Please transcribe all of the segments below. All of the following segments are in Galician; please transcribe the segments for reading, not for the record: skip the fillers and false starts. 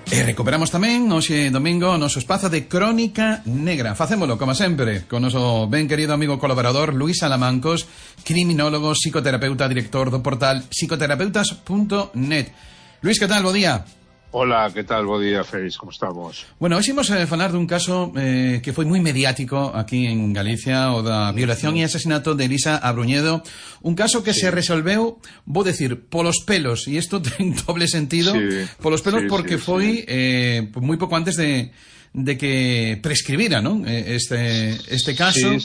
E recuperamos tamén hoxe domingo o noso espazo de Crónica Negra. Facémolo, como sempre, con o noso ben querido amigo colaborador Luís Salamancos, criminólogo, psicoterapeuta, director do portal psicoterapeutas.net. Luís, que tal? Bo día. Hola, que tal? Bo día, Félix, como estamos? Bueno, hoxe imos falar dun caso que foi moi mediático aquí en Galicia, o da violación e asesinato de Elisa Abruñedo, un caso que se resolveu, vou decir, polos pelos, e isto ten doble sentido, polos pelos porque foi moi pouco antes de que prescribira, non? Este caso.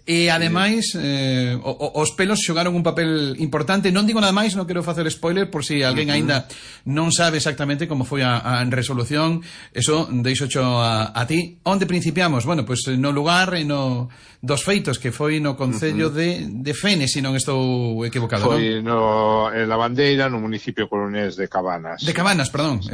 E ademais os pelos xogaron un papel importante. Non digo nada máis, non quero facer spoiler por si alguén aínda non sabe exactamente como foi a resolución. Eso deixo a ti. Onde principiamos? Bueno, pois no lugar e no dos feitos, que foi no concello de Fene, se non estou equivocado, foi non? En Lavandeira, no municipio coruñés de Cabanas. De Cabanas, perdón,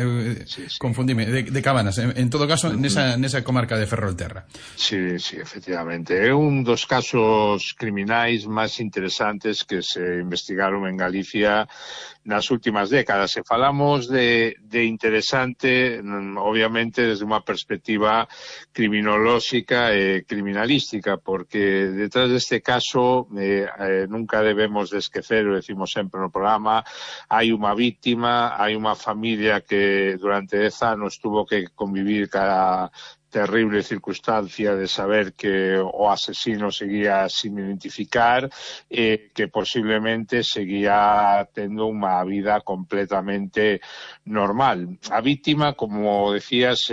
confundime, de Cabanas, en todo caso, nesa comarca de Ferrolterra. Sí, efectivamente. É un dos casos criminais máis interesantes que se investigaron en Galicia nas últimas décadas. Se falamos de interesante, obviamente, desde unha perspectiva criminolóxica e criminalística, porque detrás deste caso nunca debemos de esquecer, o decimos sempre no programa, hai unha víctima, hai unha familia que durante 10 anos tuvo que convivir ca terrible circunstancia de saber que o asesino seguía sin identificar e que posiblemente seguía tendo unha vida completamente normal. A víctima, como decías,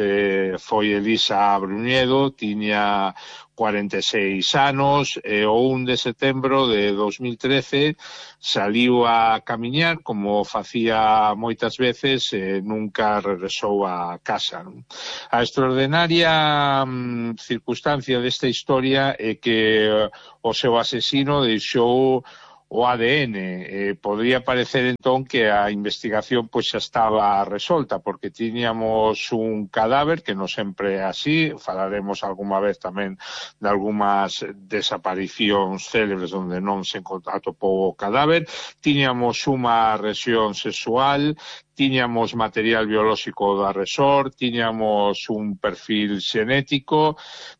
foi Elisa Abruñedo, tiña 46 anos, e o 1 de setembro de 2013 saliu a camiñar, como facía moitas veces, e nunca regresou a casa. A extraordinaria circunstancia desta historia é que o seu asesino deixou o ADN. Podría parecer entón que a investigación pois xa estaba resolta, porque tiñamos un cadáver, que non sempre é así, falaremos algunha vez tamén de algunhas desaparicións célebres onde non se atopou o cadáver, tiñamos unha lesión sexual, tiñamos material biolóxico do agresor, tiñamos un perfil xenético,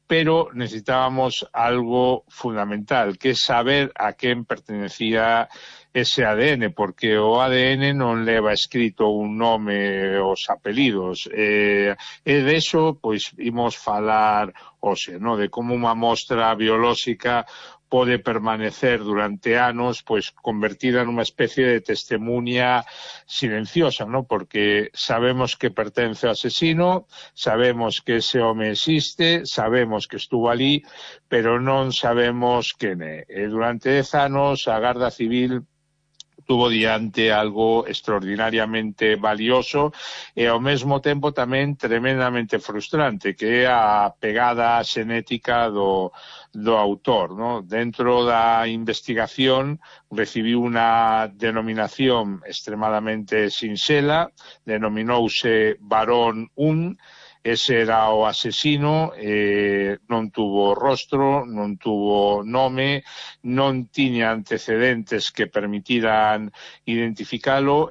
pero necesitábamos algo fundamental, que é saber a quen pertenecía ese ADN, porque o ADN non leva escrito un nome os apelidos. E de eso, pois, imos falar hoxe, no? De como unha mostra biolóxica pode permanecer durante anos, pois, convertida nunha especie de testemunha silenciosa, ¿no? Porque sabemos que pertence ao asesino, sabemos que ese home existe, sabemos que estuvo ali, pero non sabemos quen é. E durante 10 anos a Garda Civil tuvo diante algo extraordinariamente valioso e ao mesmo tempo tamén tremendamente frustrante, que é a pegada xenética do autor, ¿no? Dentro da investigación recibiu unha denominación extremadamente sinxela, denominouse Varón 1, ese era o asesino, non tuvo rostro, non tuvo nome, non tiña antecedentes que permitiran identificalo,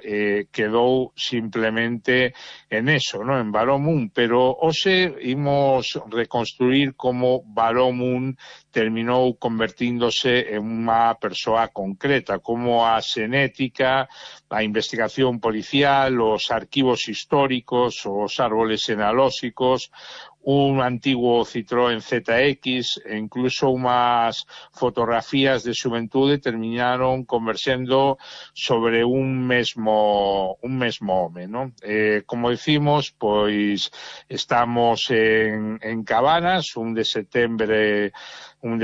quedou simplemente en eso, ¿no? En Varón 1, pero hoxe imos reconstruir como Varón 1 terminou convertíndose en unha persoa concreta, como a xenética, a investigación policial, os arquivos históricos, os árboles genealóxicos, un antiguo Citroën ZX e incluso unhas fotografías de xuventude terminaron conversendo sobre un mesmo home, ¿no? Como decimos, pois estamos en Cabanas, 1 de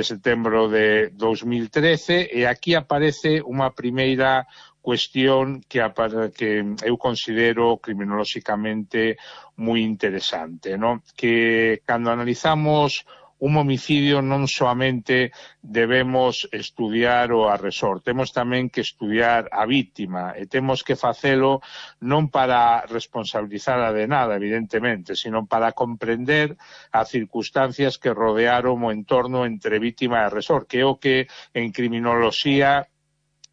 setembro de 2013, e aquí aparece unha primeira cuestión que eu considero criminolóxicamente moi interesante, ¿no? Que cando analizamos un homicidio non soamente debemos estudiar o agresor, temos tamén que estudiar a vítima e temos que facelo non para responsabilizala de nada, evidentemente, sino para comprender as circunstancias que rodearon o entorno entre vítima e agresor, que é o que en criminoloxía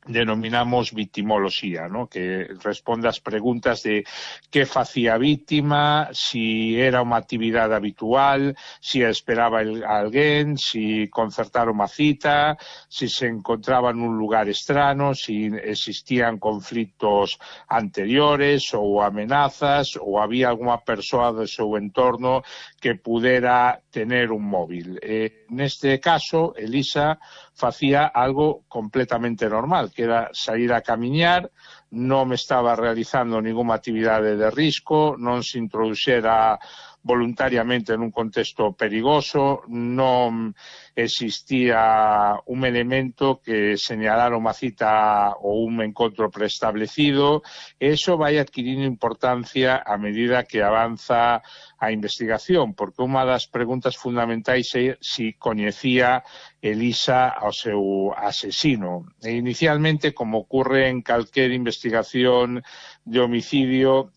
denominamos victimoloxía, ¿no? Que responde ás preguntas de que facía a víctima, si era unha actividade habitual, si esperaba a alguén, si concertara unha cita, si se encontraba nun lugar estrano, si existían conflitos anteriores ou amenazas, ou había algunha persoa do seu entorno que pudera tener un móvil. Neste caso, Elisa facía algo completamente normal, que era sair a camiñar, non me estaba realizando ninguna actividade de risco, non se introduxera voluntariamente nun contexto perigoso, non existía un elemento que señalara unha cita ou un encontro preestablecido, e iso vai adquirindo importancia a medida que avanza a investigación, porque unha das preguntas fundamentais é se coñecía Elisa ao seu asesino. E inicialmente, como ocurre en calquer investigación de homicidio,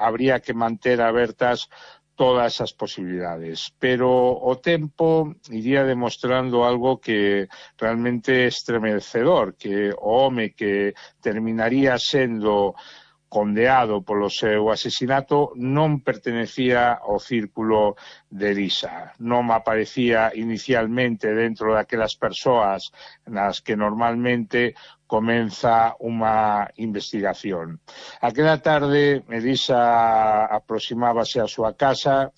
habría que manter abertas todas as posibilidades, pero o tempo iría demostrando algo que realmente é estremecedor, que o home que terminaría sendo condeado polo seu asesinato non pertenecía ao círculo de Elisa, non aparecía inicialmente dentro daquelas persoas nas que normalmente comeza unha investigación. Aquela tarde Elisa aproximábase á súa casa,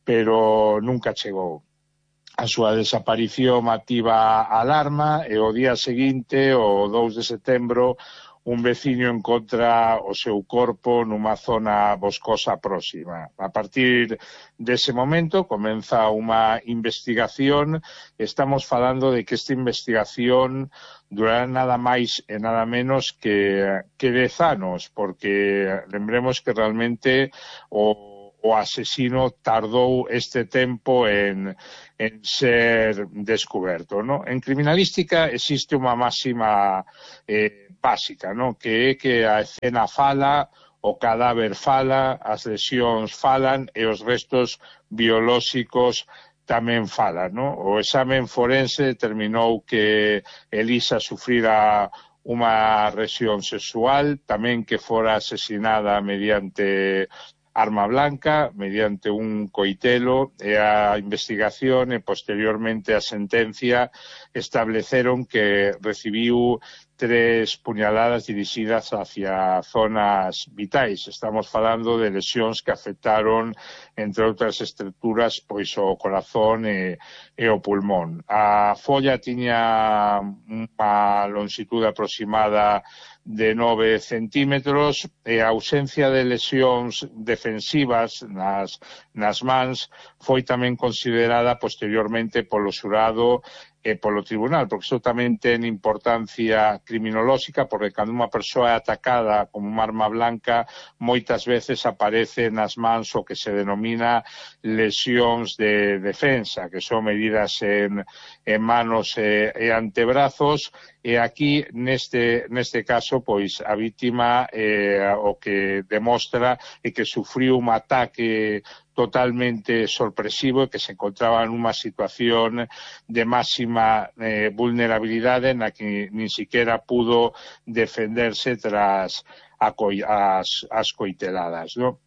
pero nunca chegou. A súa desaparición activa a alarma e o día seguinte, o 2 de setembro, un veciño encontra o seu corpo nunha zona boscosa próxima. A partir dese momento comeza unha investigación. Estamos falando de que esta investigación durará nada máis e nada menos que 10 anos, porque lembremos que realmente o asesino tardou este tempo en ser descoberto, ¿no? En criminalística existe unha máxima básica, ¿no? Que é que a escena fala, o cadáver fala, as lesións falan e os restos biolóxicos tamén falan, ¿no? O examen forense determinou que Elisa sufrira unha agresión sexual, tamén que fora asesinada mediante arma blanca, mediante un coitelo, e a investigación e posteriormente a sentencia estableceron que recibiu 3 puñaladas dirixidas hacia zonas vitais. Estamos falando de lesións que afectaron, entre outras estruturas, pois o corazón e o pulmón. A folla tiña unha longitude aproximada de 9 centímetros e a ausencia de lesións defensivas nas mans foi tamén considerada posteriormente polo xurado e polo tribunal, porque iso tamén ten importancia criminolóxica, porque cando unha persoa é atacada con unha arma blanca, moitas veces aparece nas mans o que se denomina lesións de defensa, que son medidas en manos e antebrazos, e aquí, neste caso, pois a vítima o que demostra é que sufriu un ataque totalmente sorpresivo e que se encontraba nunha situación de máxima vulnerabilidade na que nin siquiera pudo defenderse tras as coiteladas, ¿no?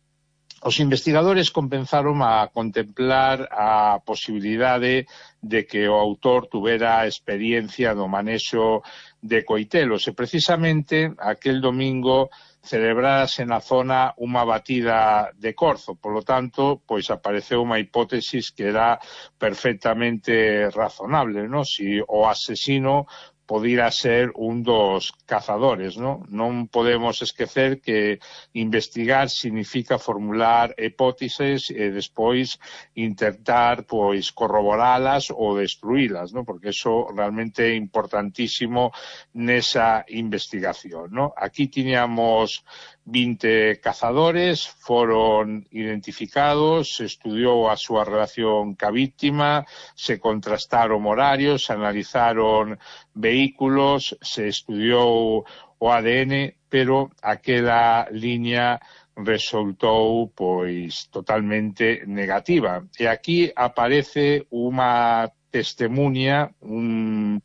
Os investigadores comenzaron a contemplar a posibilidade de que o autor tuvera experiencia no manexo de coitelos e precisamente aquel domingo celebrárase na zona unha batida de corzo. Por lo tanto, pois apareceu unha hipótesis que era perfectamente razonable, ¿no? Si o asesino podira ser un dos cazadores, ¿no? Non podemos esquecer que investigar significa formular hipóteses e despois intentar pois corroboralas ou destruílas, ¿no? Porque eso realmente é importantísimo nesa investigación, ¿no? Aquí tiñamos 20 cazadores, foron identificados, se estudiou a súa relación ca víctima, se contrastaron horarios, se analizaron vehículos, se estudiou o ADN, pero aquela liña resultou pois totalmente negativa. E aquí aparece unha testemunha, un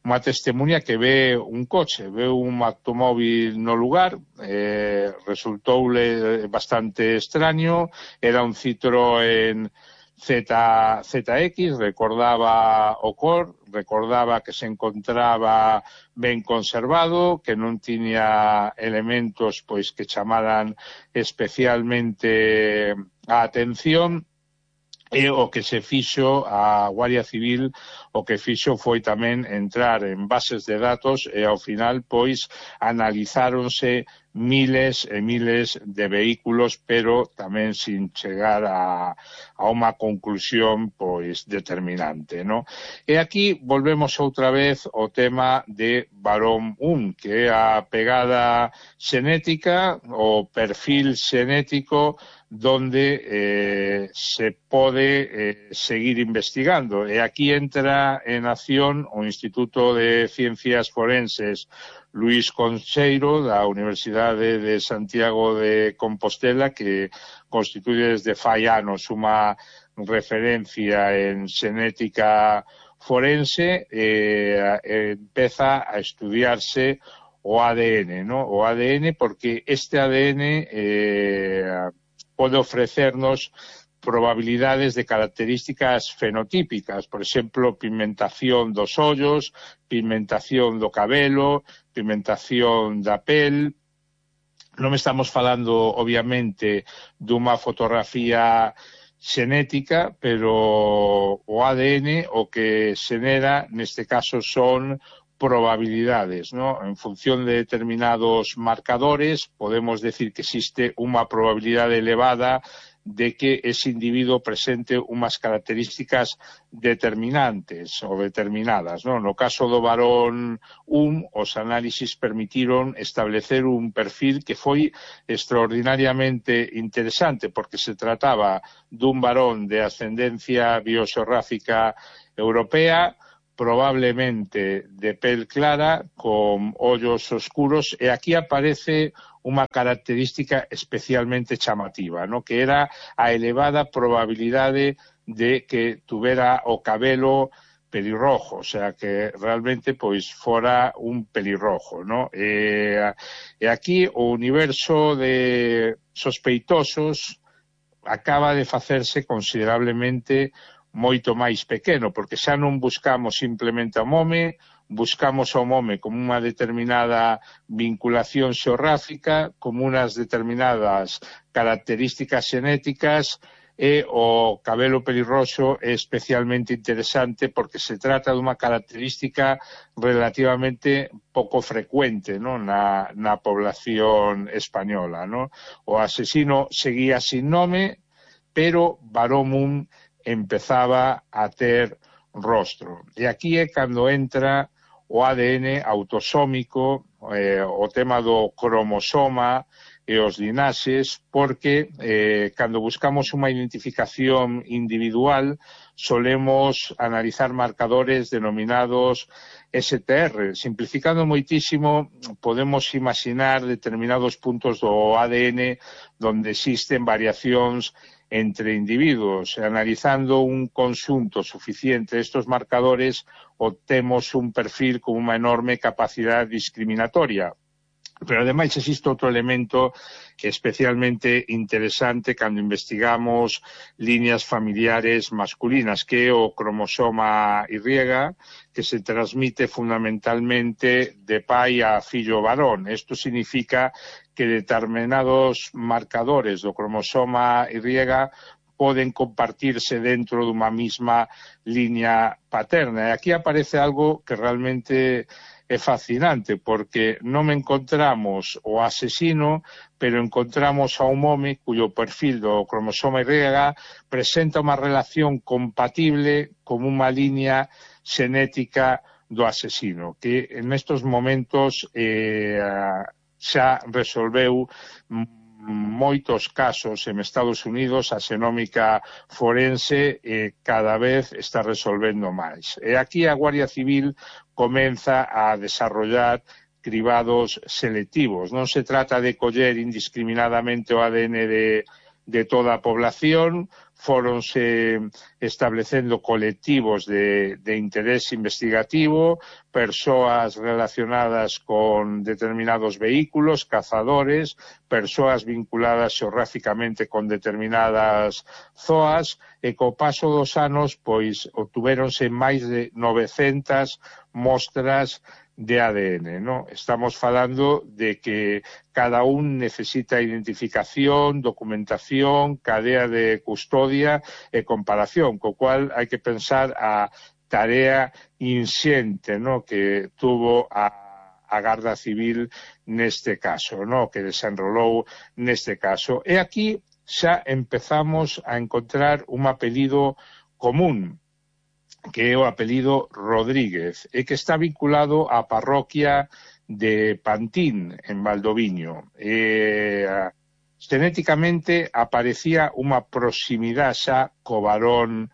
unha testemunha que ve un coche, ve un automóvil no lugar, resultoule bastante extraño, era un Citroën ZX, recordaba o cor, recordaba que se encontraba ben conservado, que non tiña elementos pois que chamaran especialmente a atención, e o que se fixo a Guardia Civil, o que fixo foi tamén entrar en bases de datos e ao final pois analizáronse miles e miles de vehículos, pero tamén sin chegar a unha conclusión pois determinante, ¿no? E aquí volvemos outra vez ao tema de Barón 1, que é a pegada xenética, o perfil xenético donde se pode seguir investigando. E aquí entra en acción o Instituto de Ciencias Forenses Luís Concheiro da Universidade de Santiago de Compostela, que constituye desde fai anos unha referencia en xenética forense, empeza a estudiarse o ADN, ¿no? O ADN porque este ADN pode ofrecernos probabilidades de características fenotípicas, por exemplo, pigmentación dos ollos, pigmentación do cabelo, pigmentación da pel. Non estamos falando, obviamente, dunha fotografía xenética, pero o ADN o que xenera, neste caso, son probabilidades, ¿no? En función de determinados marcadores, podemos decir que existe unha probabilidade elevada de que ese individuo presente unhas características determinantes ou determinadas, ¿no? No caso do varón 1, os análisis permitiron establecer un perfil que foi extraordinariamente interesante porque se trataba dun varón de ascendencia bioxeográfica europea, probablemente de pel clara, con ollos oscuros, e aquí aparece unha característica especialmente chamativa, ¿no? Que era a elevada probabilidade de que tuvera o cabelo pelirrojo, o sea, que realmente pois fora un pelirrojo, ¿no? E aquí o universo de sospeitosos acaba de facerse considerablemente moito máis pequeno, porque xa non buscamos simplemente ao mome, buscamos ao mome como unha determinada vinculación xeográfica, como unas determinadas características xenéticas, e o cabelo pelirroxo é especialmente interesante porque se trata dunha característica relativamente pouco frecuente, ¿no? na población española, ¿no? O asesino seguía sin nome, pero Barón empezaba a ter rostro. E aquí é cando entra o ADN autosómico, o tema do cromosoma e os linaxes, porque cando buscamos unha identificación individual solemos analizar marcadores denominados STR. Simplificando moitísimo, podemos imaginar determinados puntos do ADN donde existen variacións entre individuos. Analizando un conxunto suficiente destes marcadores, obtemos un perfil con unha enorme capacidade discriminatoria. Pero, ademais, existe outro elemento especialmente interesante cando investigamos líneas familiares masculinas, que é o cromosoma Y, que se transmite fundamentalmente de pai a fillo varón. Isto significa que determinados marcadores do cromosoma Y poden compartirse dentro dunha mesma liña paterna. E aquí aparece algo que realmente é fascinante, porque non encontramos o asesino, pero encontramos a un home cuyo perfil do cromosoma Y presenta unha relación compatible con unha liña xenética do asesino, que en estos momentos xa resolveu moitos casos en Estados Unidos. A xenómica forense cada vez está resolvendo máis. E aquí a Guardia Civil comeza a desarrollar cribados selectivos. Non se trata de coller indiscriminadamente o ADN de toda a población, fóronse establecendo colectivos de interés investigativo, persoas relacionadas con determinados vehículos, cazadores, persoas vinculadas xeográficamente con determinadas zoas, e co paso dos anos, pois, obtuvéronse máis de 900 mostras de ADN, ¿no? Estamos falando de que cada un necesita identificación, documentación, cadea de custodia e comparación, co cual hai que pensar a tarea inxente, ¿no?, que tuvo a Garda Civil neste caso, ¿no?, que desenrolou neste caso. E aquí xa empezamos a encontrar un apelido común, que é o apelido Rodríguez, e que está vinculado á parroquia de Pantín, en Valdoviño. Genéticamente aparecía unha proximidade xa co varón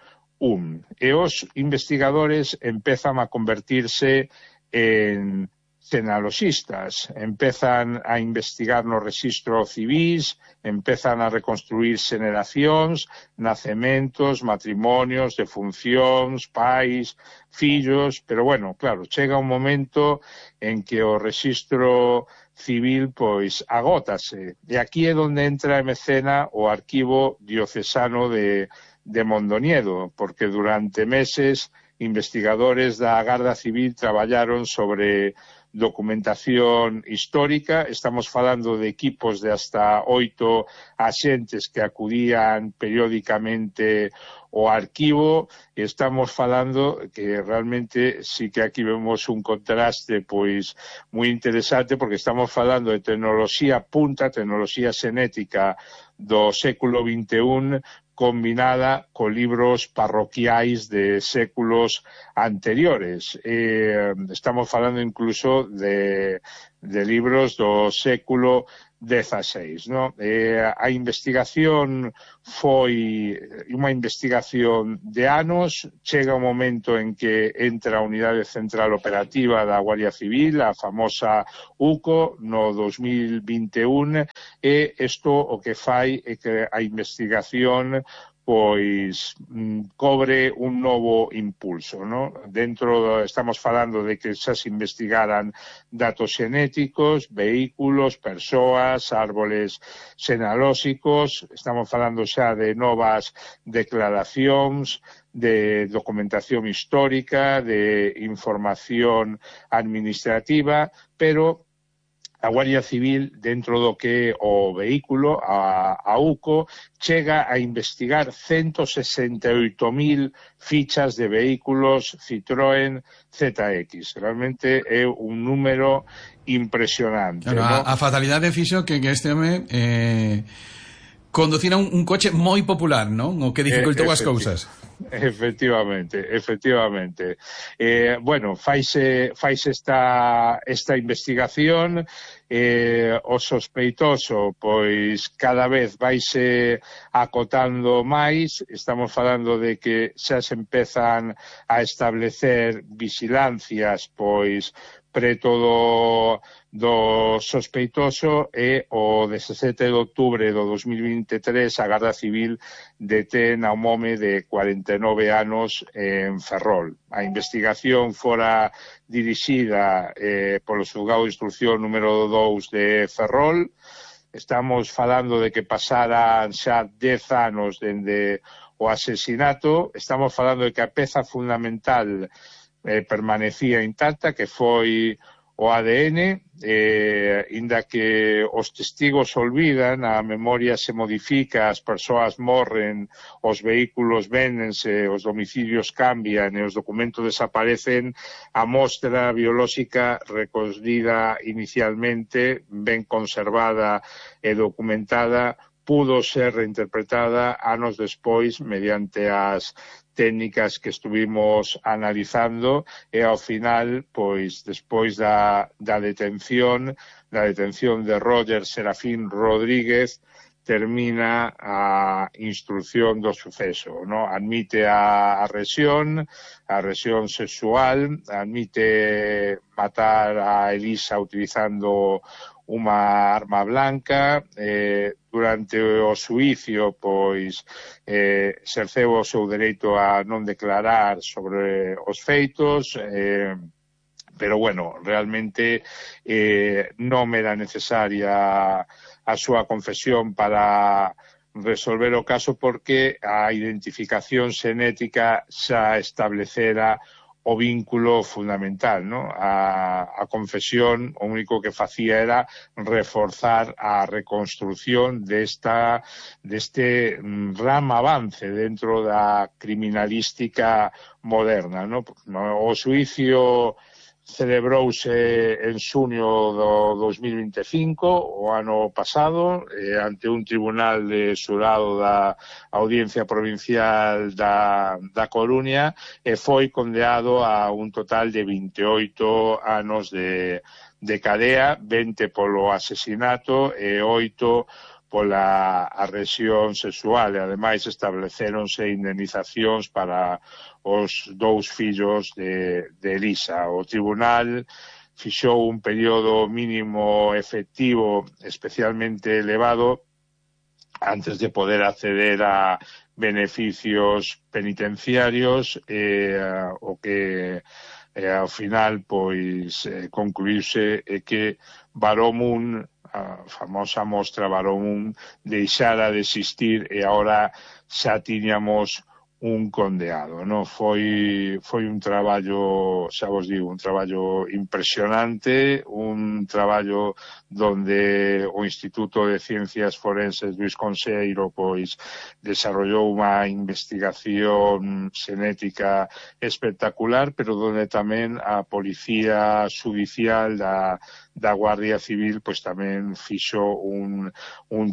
e os investigadores empezan a convertirse en genealoxistas, empezan a investigar no rexistro civis, empezan a reconstruir xeneracións, nacementos, matrimonios, defuncións, pais, fillos, pero bueno, claro, chega un momento en que o rexistro civil pois agótase, e aquí é onde entra en escena o arquivo diocesano de Mondoñedo, porque durante meses investigadores da Garda Civil traballaron sobre documentación histórica. Estamos falando de equipos de hasta 8 axentes que acudían periódicamente ao arquivo, e estamos falando que realmente sí que aquí vemos un contraste pois moi interesante, porque estamos falando de tecnoloxía punta, tecnoloxía xenética do século XXI, combinada con libros parroquiais de séculos anteriores. Estamos falando incluso de libros do século XVI, ¿no? A investigación foi unha investigación de anos. Chega un momento en que entra a Unidade Central Operativa da Guardia Civil, a famosa UCO, no 2021, e isto o que fai é que a investigación pois cobre un novo impulso, ¿no? Estamos falando de que xa se investigaran datos xenéticos, vehículos, persoas, árboles xenealóxicos, estamos falando xa de novas declaracións, de documentación histórica, de información administrativa, pero a Guardia Civil, dentro do que é o vehículo, a UCO, chega a investigar 168.000 fichas de vehículos Citroën ZX. Realmente é un número impresionante. Claro, ¿no? A fatalidade fixo que este home conducira un coche moi popular, non? O que dificultou as cousas. Efectivamente. Bueno, faise esta investigación, o sospeitoso pois cada vez vaise acotando máis. Estamos falando de que xa se empezan a establecer vigilancias pois preto do sospeitoso, e o 17 de outubro do 2023 a Garda Civil detén a un home de 49 anos en Ferrol. A investigación fora dirixida polo xulgado de instrucción número 2 de Ferrol. Estamos falando de que pasaran xa 10 anos dende o asesinato. Estamos falando de que a peza fundamental permanecía intacta, que foi o ADN, inda que os testigos olvidan, a memoria se modifica, as persoas morren, os vehículos véndense, os domicilios cambian e os documentos desaparecen, a mostra biolóxica recollida inicialmente, ben conservada e documentada, pudo ser reinterpretada anos despois mediante as técnicas que estuvimos analizando, e ao final, pois, despois da detención de Roger Serafín Rodríguez, termina a instrucción do suceso, ¿no? Admite a agresión sexual, admite matar a Elisa utilizando unha arma blanca. Durante o xuicio, pois, exerceu o seu dereito a non declarar sobre os feitos, pero, bueno, realmente non era necesaria a súa confesión para resolver o caso, porque a identificación xenética xa establecera o vínculo fundamental, ¿no? A confesión o único que facía era reforzar a reconstrucción deste rama avance dentro da criminalística moderna, ¿no? O xuicio celebrouse en xunio do 2025, o ano pasado, ante un tribunal de xurado da Audiencia Provincial da Coruña, e foi condenado a un total de 28 anos de cadea, 20 polo asesinato e 8 pola agresión sexual, e ademais establecéronse indemnizacións para os 2 fillos de Elisa. O tribunal fixou un período mínimo efectivo especialmente elevado antes de poder acceder a beneficios penitenciarios, o que ao final, pois, concluíse que Baró-Mun, a famosa mostra Baró-Mun, deixara de existir e agora xa tiñamos un condeado, ¿no? Foi un traballo, xa vos digo, un traballo impresionante, un traballo donde o Instituto de Ciencias Forenses Luis Consello, pois, desarrollou unha investigación xenética espectacular, pero donde tamén a Policía Judicial da Guardia Civil, pois, tamén fixo un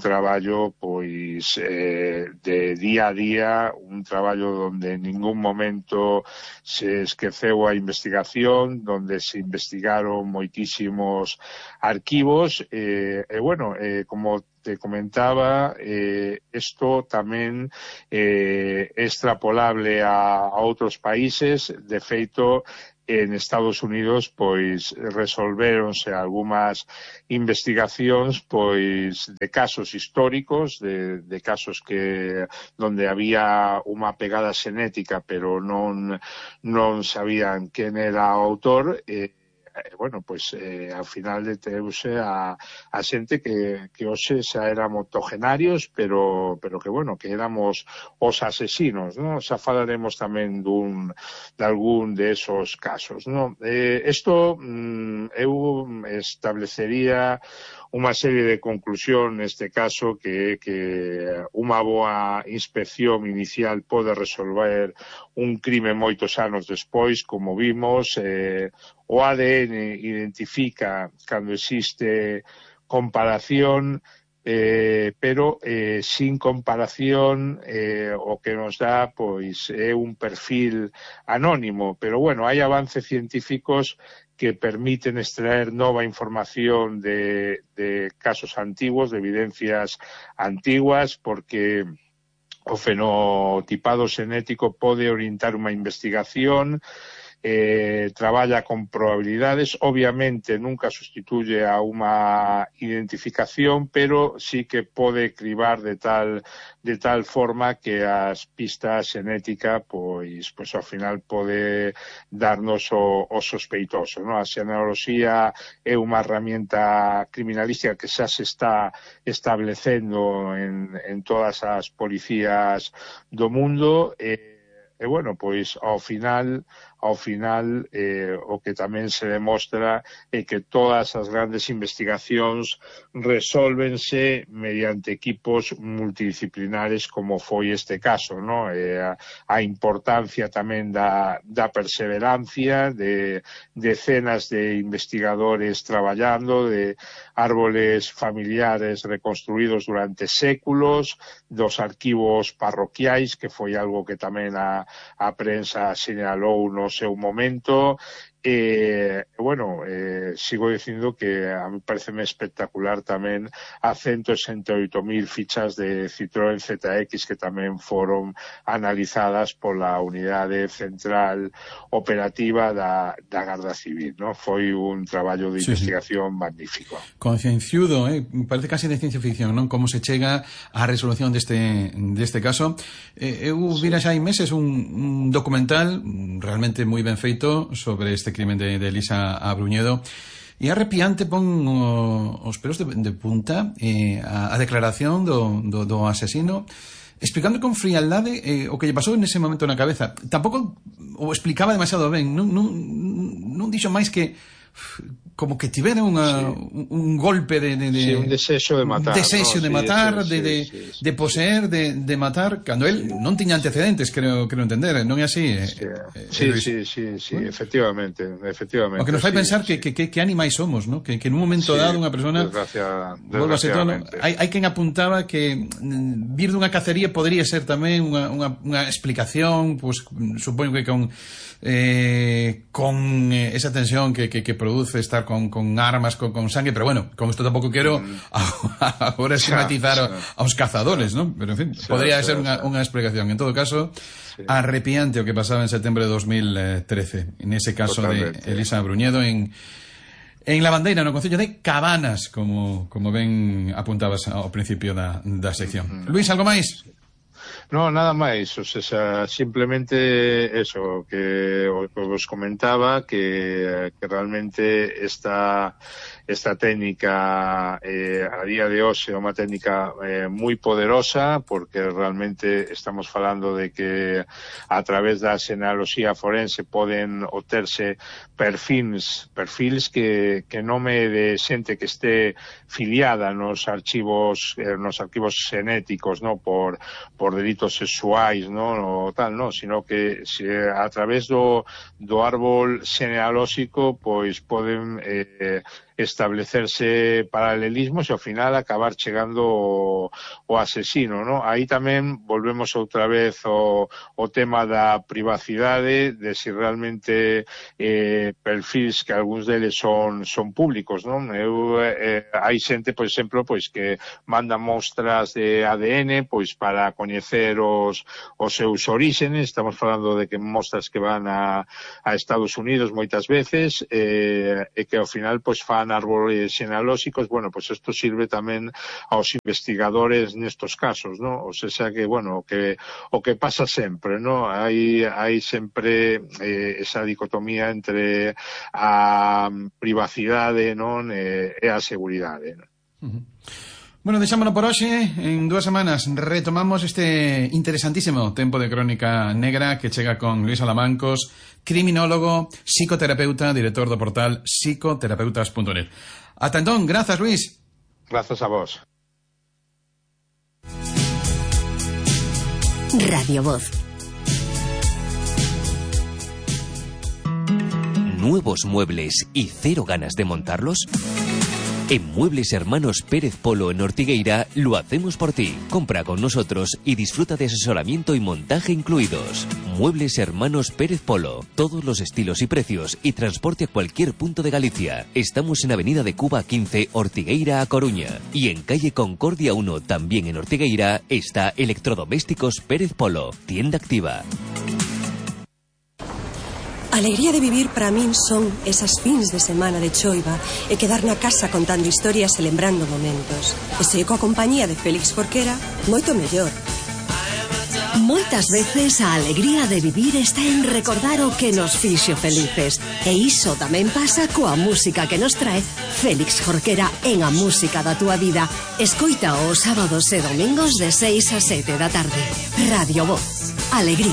traballo, pois, de día a día, un traballo donde en ningún momento se esqueceu a investigación, donde se investigaron moitísimos arquivos, bueno, como te comentaba, isto tamén é extrapolable a outros países. De feito, en Estados Unidos, pois, resolvéronse algunhas investigacións, pois, de casos históricos, de casos que donde había unha pegada xenética, pero non sabían quen era o autor, bueno, pois, ao final deteuse a xente que hoxe xa éramos octogenarios, pero que, bueno, que éramos os asesinos, ¿no? Xa falaremos tamén de algún de esos casos, ¿no? Isto eu establecería unha serie de conclusión neste caso, que unha boa inspección inicial pode resolver un crime moitos anos despois, como vimos. O ADN identifica cando existe comparación, pero sin comparación o que nos dá, pois, é un perfil anónimo. Pero, bueno, hai avances científicos que permiten extraer nova información de casos antiguos, de evidencias antiguas, porque o fenotipado xenético pode orientar unha investigación, traballa con probabilidades, obviamente nunca sustituye a unha identificación, pero sí que pode cribar de tal forma que as pistas xenética, pois ao final pode darnos o sospeitoso, ¿no? A xenealoxía é unha herramienta criminalística que xa se está establecendo en todas as policías do mundo, e, bueno, pois ao final o que tamén se demostra é que todas as grandes investigacións resólvense mediante equipos multidisciplinares, como foi este caso, ¿no? A importancia tamén da perseverancia, de decenas de investigadores traballando, de árboles familiares reconstruídos durante séculos, dos arquivos parroquiais, que foi algo que tamén a prensa señalou no seu momento, sigo dicindo que a mí pareceme espectacular tamén a 168.000 fichas de Citroën ZX que tamén foron analizadas pola Unidade Central Operativa da Garda Civil, ¿no? Foi un traballo de investigación magnífico. Concienciudo, parece casi de ciencia ficción, non? Como se chega á resolución deste caso. Eu vira xa hai meses un documental realmente moi ben feito sobre este crimen de Elisa Abruñedo, e arrepiante pon os pelos de punta a declaración do asesino, explicando con frialdade o que lle pasou nese momento na cabeza. Tampouco o explicaba demasiado ben, non dixo máis que como que tivera un golpe un desexo de matar, de poseer, de matar, cando él non tiña antecedentes, creo entender, non é así? Sí, efectivamente. O que nos fai pensar que animais somos, ¿no? Que en un momento dado unha persona desgraciadamente. Hai quen apuntaba que vir dunha cacería podría ser tamén unha explicación, pues supoño que con esa tensión que produce estar con armas, con sangue, pero bueno, con esto tampoco quiero ahora estigmatizar aos cazadores, ¿no? Pero en fin, podría ser unha explicación. En todo caso, arrepiante o que pasaba en setembro de 2013, en ese caso totalmente, de Elisa Abruñedo en La Bandeira, no concello de Cabanas, como ben apuntabas ao principio da sección. Luis, algo máis? No, nada máis, o sea, simplemente eso, que os comentaba que realmente esta técnica a día de hoxe é unha técnica moi poderosa, porque realmente estamos falando de que a través da xenealoxía forense poden obterse perfils que nome de xente que este filiada nos arquivos xenéticos, no, por delitos sexuais, no, o tal, no, sino que a través do árbol xenealóxico pois poden establecerse paralelismos e ao final acabar chegando o asesino, ¿no? Aí tamén volvemos outra vez o tema da privacidade, de si realmente perfils que algúns deles son públicos, non? Hai xente, por exemplo, pois que manda mostras de ADN pois para coñecer os seus oríxenes. Estamos falando de que mostras que van a Estados Unidos moitas veces e que ao final pois fan árboles xenealóxicos. Bueno, pues esto sirve tamén aos investigadores nestos casos, ¿no? O sea que, bueno, o que pasa sempre, ¿no? Hai sempre esa dicotomía entre a privacidade, non, e a seguridade, non? Bueno, deixámonos por hoxe. En 2 semanas retomamos este interesantísimo tempo de Crónica Negra que chega con Luis Alamancos, criminólogo, psicoterapeuta, director do portal psicoterapeutas.net. Ata entón, grazas, Luis. Grazas a vos. Radio Voz. ¿Nuevos muebles y cero ganas de montarlos? En Muebles Hermanos Pérez Polo en Ortigueira lo hacemos por ti. Compra con nosotros y disfruta de asesoramiento y montaje incluidos. Muebles Hermanos Pérez Polo. Todos los estilos y precios y transporte a cualquier punto de Galicia. Estamos en Avenida de Cuba 15, Ortigueira a Coruña. Y en Calle Concordia 1, también en Ortigueira, está Electrodomésticos Pérez Polo. Tienda activa. A alegría de vivir para min son esas fins de semana de choiva e quedar na casa contando historias e lembrando momentos. E se coa compañía de Félix Jorquera, moito mellor. Moitas veces a alegría de vivir está en recordar o que nos fixo felices. E iso tamén pasa coa música que nos trae Félix Jorquera en A Música da Túa Vida. Escoita os sábados e domingos de 6 a 7 da tarde. Radio Voz. Alegría.